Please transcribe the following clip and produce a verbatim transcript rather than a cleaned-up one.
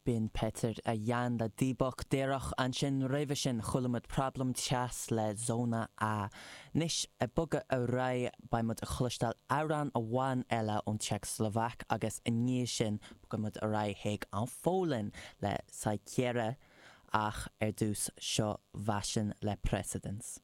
B'in Peter a Jan le Díobach Díreach ansin roimhe sin chuala muid Problém Teas le Zóna A. Anois ag bogadh ar aghaidh beidh muid ag cloisteáil amhrán amháin eile ón tSeicslóvaic agus i ndiaidh sin bogfaidh muid ar aghaidh chuig an Pholainn le Saiceire ach ar dtús seo Vašin le Precedence.